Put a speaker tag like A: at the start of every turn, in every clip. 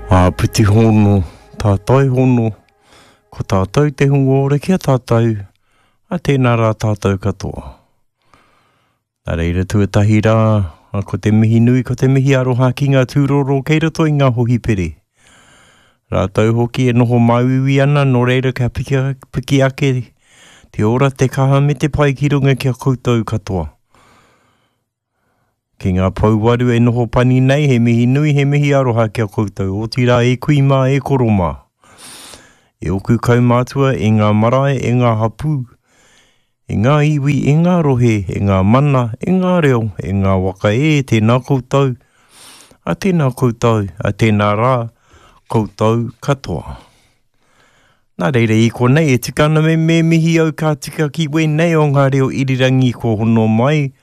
A: Āpiti hono, tātai hono, ko tātou te hunga ora ki a tātou, a tēnā rā tātou katoa. Nā reira tuatahi rā, ko te mihi nui, ko te mihi aroha ki ngā tūroro kei roto i ngā hohipere. Rātou hoki e noho māuiui ana, nō reira kia piki, piki ake te ora, te kaha me te pai ki runga ki a koutou katoa. Ki ngā pouwaru e noho pani nei, he mihi nui, he mihi aroha ki a koutou, otirā e kui mā, e koro mā. E oku kaumātua, e ngā marae, e ngā hapū, e ngā iwi, e ngā rohe, e ngā mana, e ngā reo, e ngā waka e, tēnā koutou, a tēnā koutou, a tēnā rā, koutou katoa. Nā reira i konei e tika ana me me mihi au ka tika ki wēnei o ngā reo irirangi kua hono mai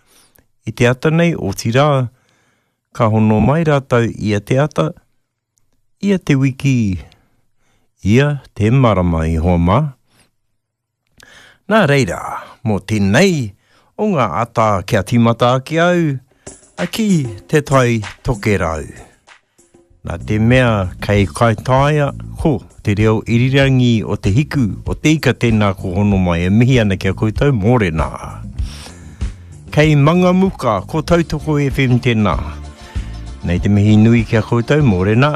A: i te ata nei, otirā, ka hono mai rātou ia te ata, ia te wiki, ia te marama i hoa mā. Nā reira, mō tēnei o ngā ata kia tīmata ake au, a ki Te Tai Tokerau. Nā te mea kei Kaitaia, ko te reo irirangi o te hiku, o te ika tēnā ko hono mai e mihi ana ki a koutou, mōrena. Kei Mangamuka, ko Tautoko FM tēnā. Nei te mihi nui ki a koutou, mōrena.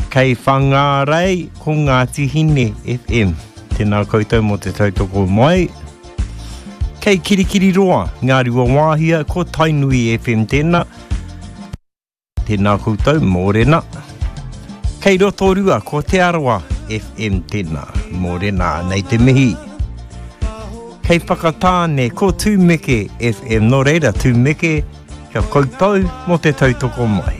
A: Kei Whangārei, ko Ngāti Hine FM. Tēnā koutou mō te tautoko mai. Kei Kirikiriroa, Ngāruawāhia, ko Tainui FM tēnā. Tēnā koutou, mōrena. Kei Rotorua, ko Te Arawa FM tēnā, mōrena, nei te mihi. Kei Whakatāne, ko Tūmeke FM, nō reira, Tūmeke, kia koutou mō te tautoko mai.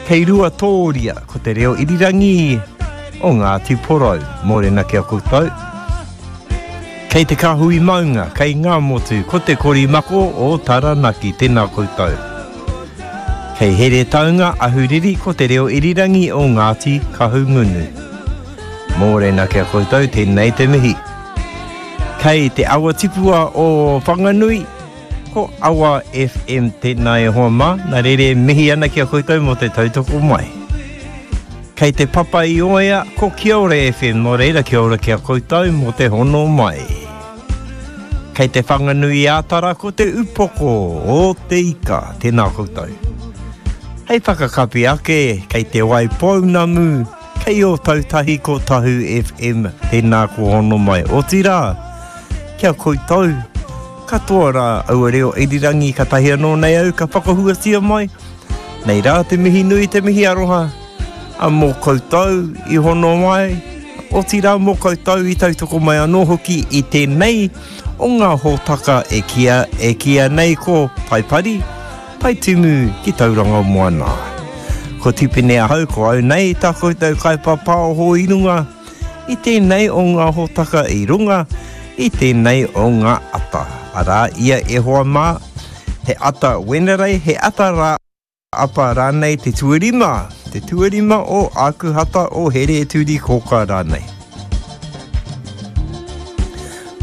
A: Kei Ruatōria, ko te reo irirangi o Ngāti Porou, mōrena ki a koutou. Kei te kāhui maunga, kei Ngāmotu, ko te korimako o Taranaki, tēnā koutou. Kei Heretaunga, Ahuriri, ko te reo irirangi o Ngāti Kahungunu. Mōrena ki a koutou, tēnei te mihi. Kei te awa tipua o Whanganui, ko Awa FM tēnā e hoa mā, nā reira e mihi ana ki a koutou mō te tautoko mai. Kei te papa i oea, ko Kia Ora FM, nō reira kia ora ki a koutou mō te hono mai. Kei te Whanganui-ā-Tara ko te upoko o te ika, tēnā koutou. Hei whakakapi ake, kei te Waipounamu, kei Ōtautahi ko Tahu FM, tēnā ko hono mai. Otirā, ki a koutou, katoa rā aua reo irirangi katahi anō nei au ka whakahuatia mai, Nei rā te mihi nui, te mihi aroha, a mō koutou i hono mai, otirā mō koutou i tautoko mai anō hoki i tēnei o ngā hōtaka e kīa, e kīa nei ko Taipari, Taitimu ki Tauranga Moana. Ko Tipene ahau, ko au nei tā koutou kaipāpāoho i runga i tēnei o ngā hōtaka i runga i tēnei o ngā ata. Arā ia e hoa mā, He ata Wenerei, he ata rā apa rānei te tuarima, te tuarima o Ākuhata o Here-turi-kōkā rānei.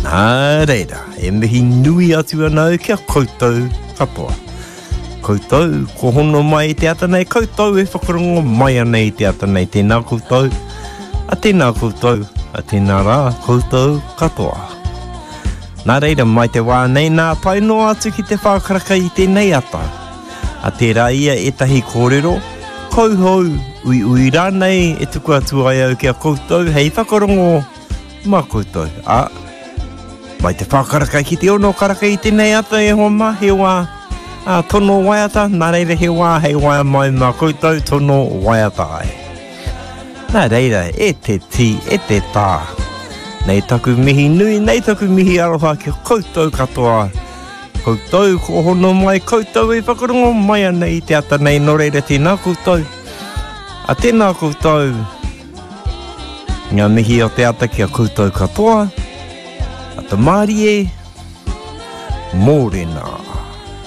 A: Nā reira, e mihi nui atu ana au ki a koutou katoa. Koutou, ko hono mai i te ata nei, koutou e whakarongo mai ana i te ata nei, tēnā koutou, a tēnā koutou, a tēnā rā koutou katoa. Nā reira, mai te wā nei nā tae noa atu ki te whākaraka i tēnei ata. A tērā ia ētahi kōrero, kauhou, uiui rānei e tuku atu ai au ki a koutou hei whakarongo mā koutou. Ā, mai te whākaraka ki te ono karaka i tēnei ata e hoa mā, he wā ā, tono waiata, nā reira he wā hei waea mai mā koutou tono waiata ai. Nā reira, e te tī, e te tā. Nei taku mihi nui, nei taku mihi aroha ki koutou katoa. Koutou ko hono mai, koutou e whakarongo mai ana i te ata nei, nō reira tēnā koutou. A tēnā koutou, ngā mihi o te ata ki a koutou katoa. Ata mārie, mōrena.